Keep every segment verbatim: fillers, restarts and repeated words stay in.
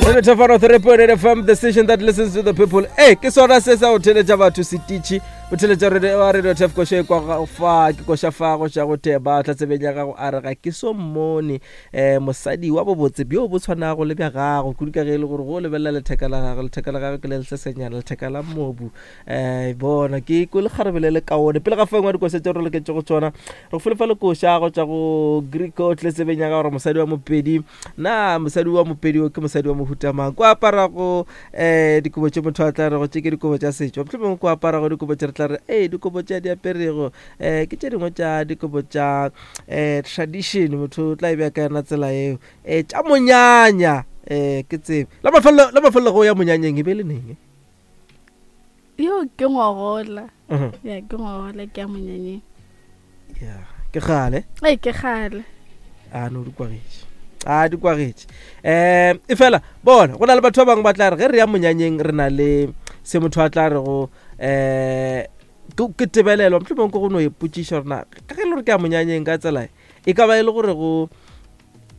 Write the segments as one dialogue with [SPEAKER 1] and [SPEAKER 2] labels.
[SPEAKER 1] Thefano three point eight F M, the station that listens to the people. Ee, ke sona se sa go theletša batho setitšhi o theletša radio wa radio tef koša e kwa fa ke koša fa go tša go theba tla tsebeng ya gago a re ga ke so mmone um mosadi wa bobotse bjo bo tshwanago le bja gago kudu ka ge e le gore go lebelela letheka la gagwe, letheka la gagwe ke le lesesenyana, letheka la mobu. um bona ke ko lekgarebe le le kaone pele ga fengwa dikoša tše re loketše go tsona re go felefa lekoša go tšwa go Greco tle tsebeng ya ka gore mosadi wa Mopedi na mosadi wa Mopedi o ke mosadi wa mohutamang ko aparago um dikobo tše motho a tla rego tše ke dikobo tša setšo, mohlomongwe ko aparago dikobo tše re tla re ee dikobo tše a di aperego um ke tše dingwe tša dikobo tša um tradition, motho o tla e bea ka yona tsela eo um tša monyanya. um ke tsebe la mafelelo la mafelelo go ya monyanyeng e be le neng?
[SPEAKER 2] Yo ke ngwagola.
[SPEAKER 1] Mhm.
[SPEAKER 2] Ya, ke ngwagola ke ya monyanyeng.
[SPEAKER 1] Ya, ke kgale.
[SPEAKER 2] Ee, ke kgale.
[SPEAKER 1] A no di kwagetše, a di kwagetše. um e fela bona go na le batho ba bangwe ba tla re ge re ya monyanyeng re na le se motho a tla re go um ke tebelelo, mohlomongwe ke go no ipotšiša gore na ka ge e le gore ke ya monyanyeng ka tsela e e ka ba e le gore go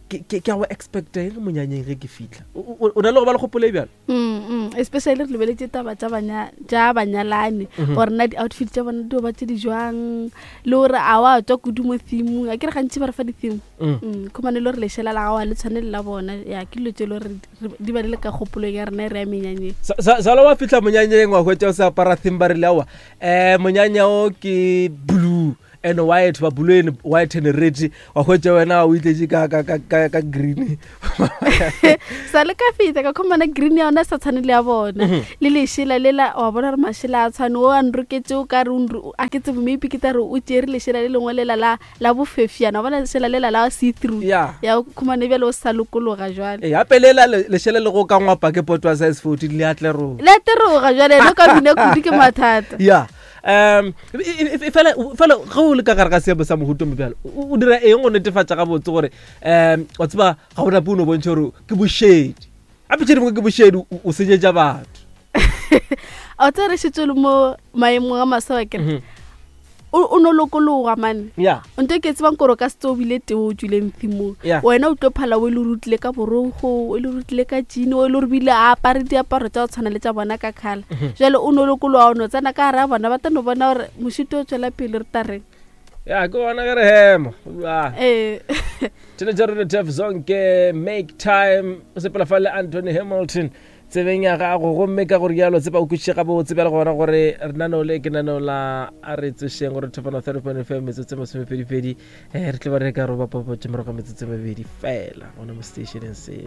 [SPEAKER 1] ke ke- ke a go expecta eng monyanyeng ge ke fitlha. O- o o na le go ba le kgopolo e bjalo?
[SPEAKER 2] Mm, mm. especially re lebeletše taba tša banya- tša banyalane
[SPEAKER 1] Mhm.
[SPEAKER 2] gore na di-outfit tša bona di ba tše di jwang le gore a wa tswa kudu mo themong a ke re gantši ba re fa di-theme.
[SPEAKER 1] Mm.
[SPEAKER 2] Mm, khumane le gore lešela la gago a le tshwane le la bona. Ya, ke dilo tse e le gore re- di ba di le ka kgopolong ya rena e re ya menyanyeng.
[SPEAKER 1] Sa- sa- sala wa fitlha monyanyeng wa hwetša o se apara theme, ba rile aowa um monyanya o ke blue and white, ba blue and white and red, wa hwetša wena o itletše ka, ka, ka, ka, ka green.
[SPEAKER 2] Sa le ka feta ka khumana green ya yona e sa tshwane le ya bona
[SPEAKER 1] Mhm.
[SPEAKER 2] le lešela lela wa bona gore mašela a tshwane o a nroketse o ka re o nro- a ke tsebe maybe ke tla re o tšere lešela le lengwe lela la la bofefiana wa bona lešela lela la see through.
[SPEAKER 1] Ya.
[SPEAKER 2] Ya o khumane bjale o sa lokologa jwale.
[SPEAKER 1] Ee, gape lela le- lešele le go ka ngwapa ke poto wa size fourteen le atleroga.
[SPEAKER 2] Le ateroga jwale le ka bina kudu ke mathata.
[SPEAKER 1] Ya, um e- e- e- fela fela ge o le ka gare ga seemo sa mohuto mo bjalo o o dira eng go netefatša gabotse gore um wa tseba ga o nape o no bontšha gore ke bošedi gape tše dingwe ke bošedi o o senyetša batho?
[SPEAKER 2] A o tsere šetse o le mo maemong a maswa kere
[SPEAKER 1] Mhm.
[SPEAKER 2] o o no lokologa mane.
[SPEAKER 1] Ya.
[SPEAKER 2] Nto e ke tsebang kore o ka se tse o bile teng o tswileng themong,
[SPEAKER 1] Ya.
[SPEAKER 2] wena o tlo phala o e le gore o tlile ka borogo, o e le gore o tlile ka jean, o e le gore bile a apare diaparo tša go tshwana le tša bona ka kgala.
[SPEAKER 1] Mhm.
[SPEAKER 2] Jale o no lokologa, o no tsena ka gare a bona ba tla no bona gore mošito o tswela pele re tareng.
[SPEAKER 1] Ya, ke gona ge re hema. Ah.
[SPEAKER 2] Ee.
[SPEAKER 1] Tšhelete radio tef zonke make time o sepela fa le Anthony Hamilton tsebeng ya gago gomme ka gore jalo tsepa o kwešiše gabotse bjale gona gore renaneo le ke naneo la a re tsošeng gore thefano thirty point fm metsotso e masomepedipedi um re tlo ba re ka roba papatše morago ga metsotso e mebedi fela gona mo stationeng se.